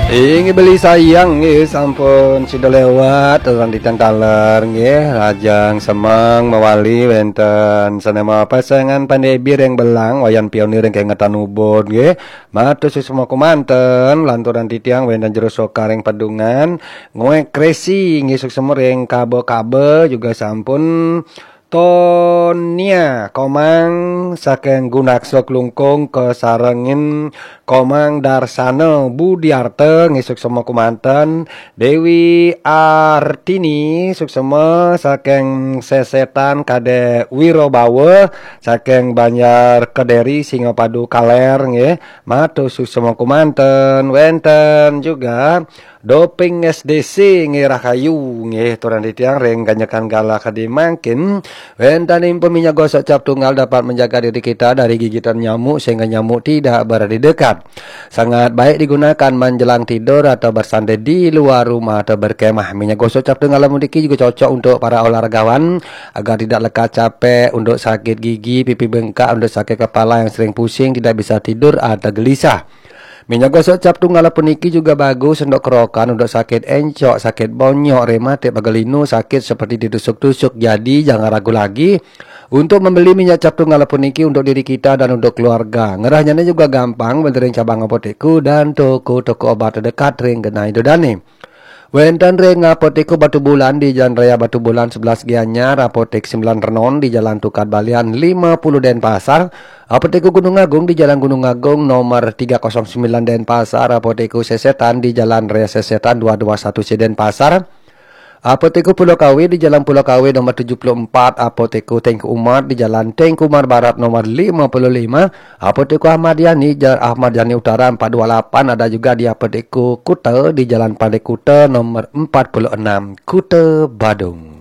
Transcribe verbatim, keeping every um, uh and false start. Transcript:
Inggih beli sayang nggih sampun sida lewat lan titiang taler nggih, lajeng semeng mawali wenten sanema pasengan pandebir ring Belang, Wayan Pionir ring kengetan Ubud nggih. Matur suksma kumanten lanturan titiang wenten jero sokaring padungan, nguek kresi nggih suksma ring kaba-kaba juga sampun Tonia Komang saking Gunaksa Klungkung kasarengin Komang Darsana Budiarta nggih suksma kumanten, Dewi Artini suksma saking Sesetan Kadek Wirobawa saking Banjar Kederi Singapadu Kaler nggih. Matur suksma kumanten wenten juga Doping S D C nggih rahayu nggih turan titiang ring ganjekan galah kadi mangkin. Wenten impun minyak gosok cap tunggal dapat menjaga diri kita dari gigitan nyamuk sehingga nyamuk tidak berada di dekat. Sangat baik digunakan menjelang tidur atau bersantai di luar rumah atau berkemah. Minyak gosok cap tunggal puniki juga cocok untuk para olahragawan agar tidak lekas capek, untuk sakit gigi, pipi bengkak, untuk sakit kepala yang sering pusing, tidak bisa tidur atau gelisah. Minyak gosok cap tunggal puniki juga bagus untuk kerokan, untuk sakit encok, sakit bonyok, rematik, pegal linu, sakit seperti ditusuk-tusuk. Jadi jangan ragu lagi untuk membeli minyak cap tunggal puniki untuk diri kita dan untuk keluarga. Ngerahnya juga gampang, wenten ring cabang apotekku dan toko-toko obat terdekat ring genah Ida Dane. Wenten ring Apotek Batubulan di Jalan Raya Batubulan sebelas Gianyar, Apotek Sembilan Renon di Jalan Tukad Balian lima puluh Denpasar, Apotek Gunung Agung di Jalan Gunung Agung nomor tiga kosong sembilan Denpasar, Apotek Sesetan di Jalan Raya Sesetan dua dua satu C Denpasar, Apotek Pulau Kawe di Jalan Pulau Kawe nomor tujuh puluh empat, Apotek Tengku Umar di Jalan Tengku Umar Barat nomor lima puluh lima, Apotek Ahmad Yani, Jalan Ahmad Yani Utara empat dua lapan, ada juga di Apotek Kuta di Jalan Pantai Kuta nomor empat puluh enam, Kuta Badung.